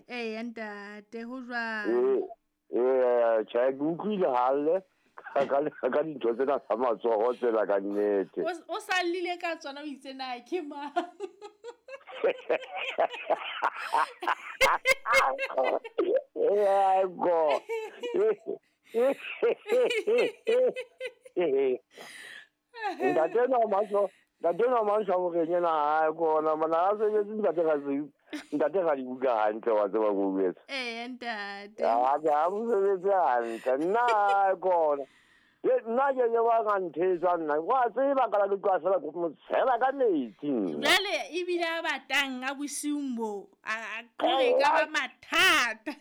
Eya ntate, ho jwang? Ee, tjhe, ke utlwile halle ka dintho tsena tsa matsoho tsena ka nnete. O sa llile ka tsona, o itse na ke mang? Ee, go. Ntate no maso, ntate no maso hore yena ha kona mana a sebetse ntate ga se ntate ga di buka hantle wa tseba go buetsa. Ee ntate. Ha ke mo sebetse hantle nna kona. Ye nna ke ye wa ga nthetsa nna. Wa tseba ka la ke tloa fela go mo tshela ka metsi. Jwale ebile a batang a bosiung bo a kore ka ba mathata.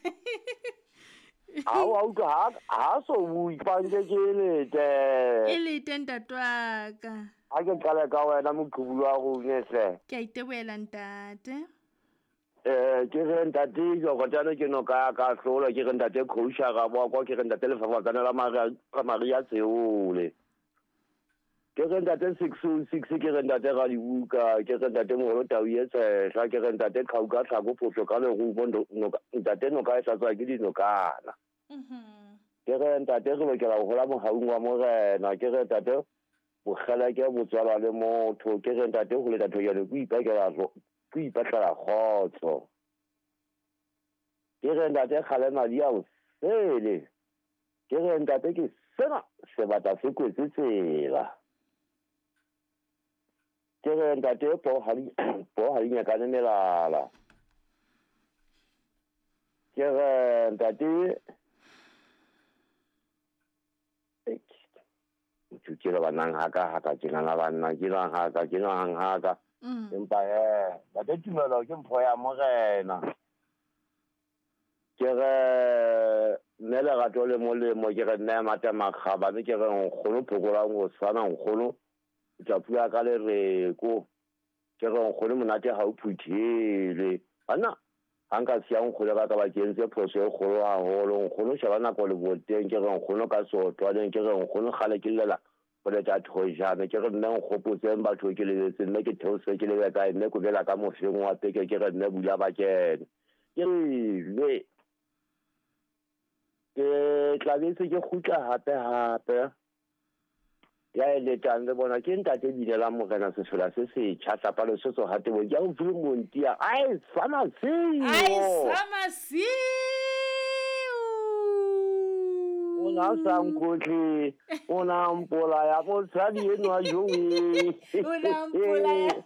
Ha wa utlwa ha so bue panke ke lete. E lete ntate wa ka. Ha ke qale ka wena moqhubu wa rona hle. Ke a itebohela ntate. Ke re ntate Jokotane ke noka ya ka hlola, ke re ntate Khousha ga boa, ke re ntate Lefafatsane la Maria Tseole. Ke re ntate 606, ke re ntate Radibuka, ke re ntate Moholo Tau e Tshehla, ke re ntate Khauka Tlhako Phofo ka lerumo, ntate noka e hlatswa ke dinokana. Ke re ntate re lokela ho hola mohaung wa Morena, ke re ntate bokgeleke bo tswalwa le motho, ke re ntate ho leta thojane ke ipakela ke ipatlela kgotso. Ke re ntate kgale madi a o sele. Ke re ntate ke sena sebata se kwetse tsela. Ke re ntate po ha di nyakane melala. Ke re ntate ke le banang haka haka ke nana banna ke nang haka ke nang haka. Empa ntate tumelo ke mpho ya Morena. Ke re mme lerato le molemo, ke re nne mata makgabane, ke re nkgono phokolang ho tshwana nkgono tla pua ka lereko. Ke re nkgono monate ha o phuthele. Banna ha nka siya nkgono ka ba ke entse phoso e kgolo haholo. Nkgono sheba nako le boteng, ke re nkgono ka sotlwaneng, ke re nkgono kgale ke llela ho leta thojane, ke re nne nkgopotseng batho ke lebetse, mme ke theose ke lebe kae, mme ko bela ka mofeng wa peke, ke re nne bula ba kene. Ke re ke tla bese ke kgutla hape hape. Ya e letang le bona ke ntate Binela Morena sefela se setjha tlapa lesotho hate bo ke a utlwile montia. Ai sama seo. Ai sama seo. O na sa nkotle, o na mpolaya mosadi enwa jowe. O na mpolaya.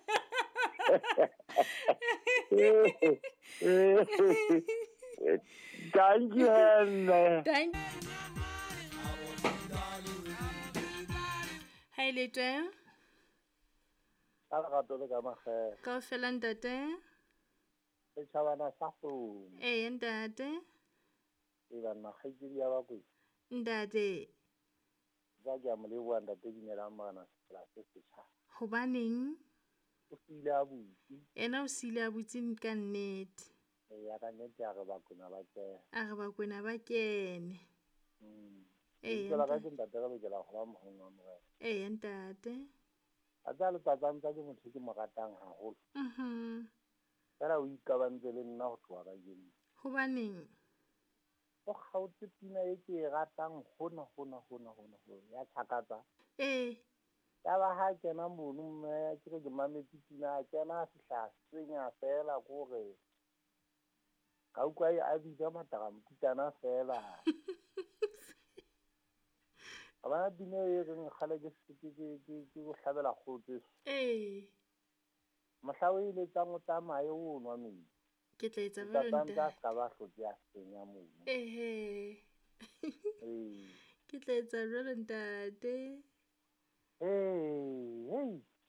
Thank you, Hemme. Thank you. Hi, lete. Ka lerato le ka makgetho. Kaofela ntate. Setjhabana sa kgomo. Ee ntate. E banna kgaitsedi ya Bakwena. Ntate. Ka ke a mo leboha ntate Binelang Morena sefela se setjha. Hobaneng? O siile a butse. Ena o siile a butse ka nnete. Eya ka nnete a re Bakwena ba kene. A re Bakwena ba kene. Ee. Tsela ka ke ntate re lokela ho ba mohong wa Morena. Ee ntate. A tsa letsatsang tsa ke motho ke mo ratang haholo. Fela o ikabantse le nna ho tloha kajeno. Hobaneng? O kgaotse pina e ke e ratang hona ya Tshakatsa. Ee. Ya ba ha kena mono mme ke re ke mametse pina a kena a fihla senya fela kore ka utlwa a bitsa mataramputana fela. A bona pina e reng kgale ke go hlabela kgotse. Ee. Mohla o e letsang o tsamaye o nwa metsi. Ke tla etsa jwalo ntate. Tsa ka ba hlotse a senya mono. Ehe. Ee. Ke tla etsa jwalo ntate. Hey,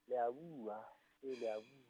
le a bua, le a bua.